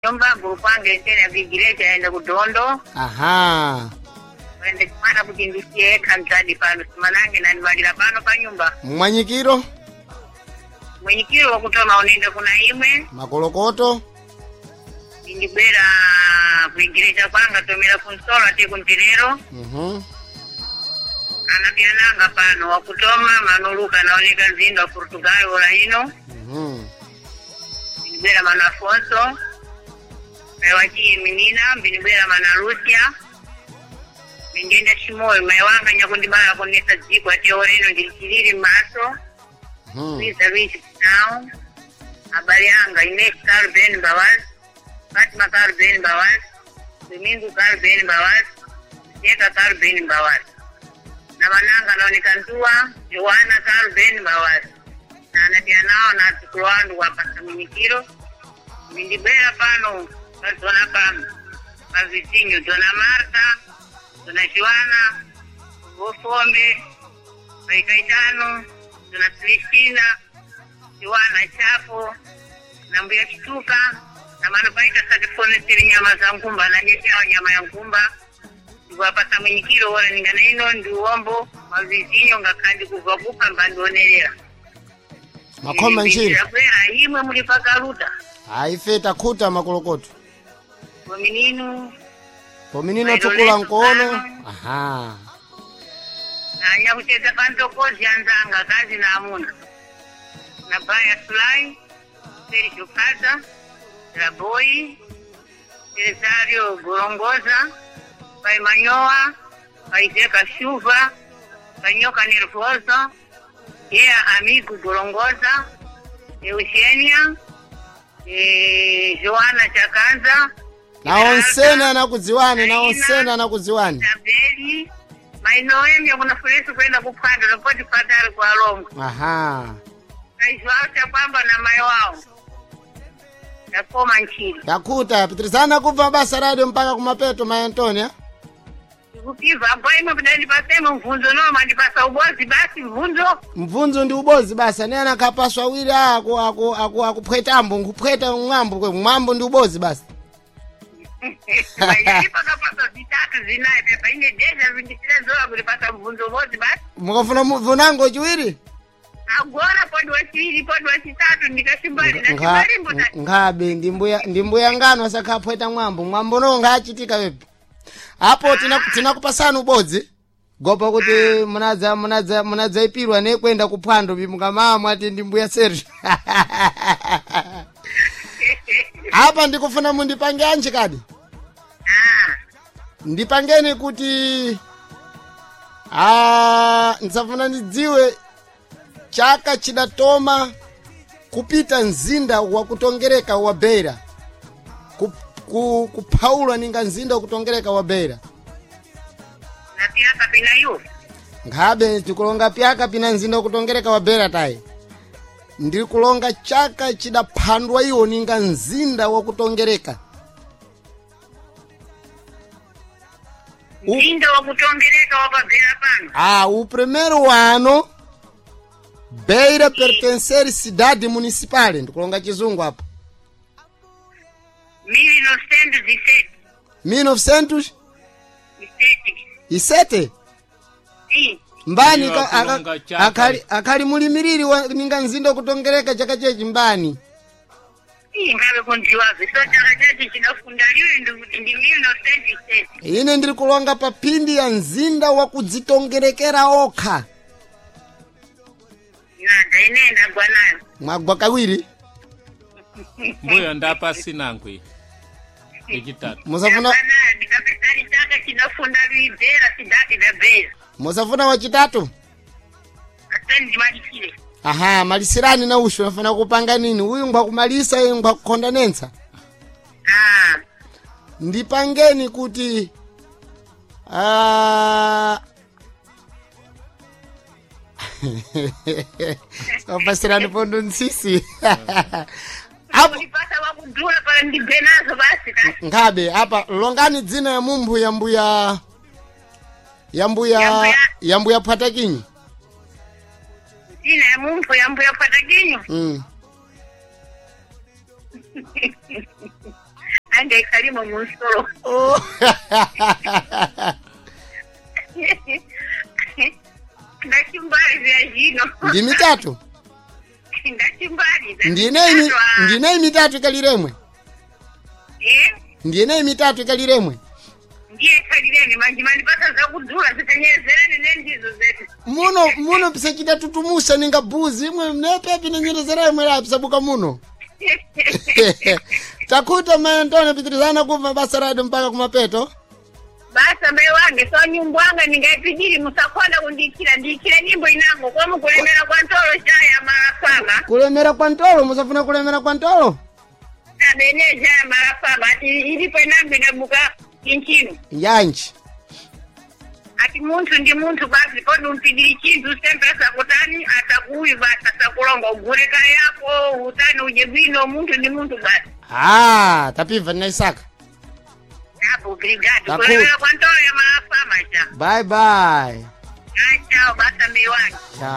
Kunyumba gurupanga entene vigireja aende kudondo. Aha. Wende kumana kuti ndisiye kanzadi pano simanange nanivalira pano pa nyumba. Mmwanyikiro. Mwenyikiro wakutoma unende kuna imwe. Makolokoto. Ndibwera kuigireja kwanga tomera kunsolo ati kuntirero. Mhm. Anapyananga pano wakutoma manuluka naoneka nzinda wa Portugal ola ino. Mhm. Mbinibwera mano Afonso. Mai wachiye minina mbinibwera mana Lucia. Mbingenda Shimoyo mai wanga nyakundibala kunesa dziko ati oreno ndilichilili m'maso. Mhm. Luiza Luiz Now. Habari yanga Ines Carben Bawaz, Fatma Carben Bawaz, Domingo Carben Bawaz, Jeka Carben Bawaz. Na mananga naoneka ntua Joana Carben Bawaz. Na anapia nao na atukulu wandu wapasa minyikiro. Mindibera pano pazona pano pavizinho Dona Marta, Dona Joana, Vofombe, Pai Caetano, Dona Celestina, Joana Chapo, na Mbuya Chituka, na mano paita satifoneseri nyama za nkumba na nyetewa nyama ya nkumba ndikuwapasa mwinyikiro wora ningana ino ndi uwombo mavizinyo ngakhandi kubva kupa mbandionerera Makhoma nchini. Kwera imwe muli pakaluta Aife takhuta makolokoto. pomininu Pominino tukula nkono. Aha. anyakucheza pantokozi anzanga kazi na amuna na baya sulai Sergio Kaza Raboi Cesario Gorongoza Pai Manyoa Pai Zeca Chuva Pai Nhoca Nervosa Ea Amigo Gorongoza Eugênia Joana Chakanza Na onsene anakudziwani, na onsene anakudziwani. Isabeli Mainoemia kuna fulesi kwenda kuphwando lopoti patali kwa Longo Aha. kaizwacha kwamba na mai wao ndakoma nchini Takhuta pitirizana kubva basa radio mpaka kumapeto mai Antonia. ndikupiva ambo imwe kudandipasemo mvunzo no mandipasa ubozi basi mvunzo Mvunzo ndi ubozi basa ne anakhapaswa awiri aku aku aku akuphwetambo nkuphweta mwambo kwe mwambo ndi ubozi basi. ipakapasa zitatu zinayi pepa ine deja vindisirezola kulipasa mvunzo ubozi basi Mukafuna mvunango chiwiri? agora podi wachiviri podi wachitatu ndikashimbali ndashimbalimbo Nkhabe ndi mbuya ndi mbuya ngano asakhaphweta mwambo mwambo no ngachitika wepo. Apo tinakupasani ubodzi. Gopa kuti munadza munadza munadzaipirwa nekwenda kuphwando bimukamama ati ndi mbuya Sergio. Apa ndikufuna mundipange anji kadi. Ndipangeni kuti ndisafuna ndidziwe chaka chidatoma kupita mzinda wakutongereka wa Beira kuphaulwa ninga mzinda wakutongereka wa Beira napiyaka pina yu nkhabe ndikulonga pyaka pina mzinda wakutongereka wa Beira tayi ndikulonga chaka chidaphandwa iwo ninga mzinda wakutongereka mzinda wakutongereka wapabhera pano O primeiro ano Beira pertencer cidade municipal ndikulonga chizungu apo 1907 1907 iseti isete mbani Ndiyo, akulonga chaka. akhali mulimiriri ninga mzinda wakutongereka chaka chechi mbani ingabe kunziwazve so chaka chacho chinofundaliwe ndi 1907 ine ndiri kulonga pa phindi ya mzinda wakudzitongerekera okha nada ine ndagwa nayo mwagwa kawiri Mbuya ndapa sinangwi. Yechitatu. musafuna Ndagwa nayo ndikapesani chaka chinofunda luibhera sidhaki dabhera musafuna wachitatu asani ndimalisire aha malisirani na ushu nafuna kupanga nini uyu ngwakumalisa uyu ngwakukhonda nentsa Ah, ndipangeni kuti sopasirani pondo ntsisi apo ulipasa wakudhula pala ndibve nazo basi ka nkhabe apa longani dzina ya mumphu ya mbuya ya mbuya Ya mbuya. ya mbuya phwatakinyi dzina ya mumphu ya mbuya phwatakinyo mm. Anga ikhalimo munsolo. Oh. Ndachimbali zya zhino. Ndi mitatu. Ndachimbali. Ndine mitatu ikaliremwe. Eh? Ndine mitatu ikaliremwe. Ndiye ikhalireni manje mandipasa zakudula zikanyerezerani nendizo zetu. Muno muno pisachita tutumusa ninga buzi imwe mnepepi nenyerezera imwe la pisabuka muno. Takuta mai Antonio pitirizana kubva basa radu mpaka kumapeto. Basa mbe wange so nyumbu wanga ningaipijiri musakonda kundikira ndikire nyimbo inango kwa mukulemera kwa ntolo chaya malafama. Kulemera kwa ntolo musafuna kulemera kwa ntolo. Sabene chaya malafama ati ilipo inango inabuka chinchino. Yanji. Ati munthu ndi munthu basi kodi umpidiri chinthu sempre asakutani asakuyu basi asakulonga ugure kayako utani uje bwino munthu ndi munthu basi. Ah, tapibva ndinaisaka. Apo obrigado. Takuta. Kulemera kwa ntolo ya malafama cha. Bye bye. Ah, chao basa mbe wange. Ciao.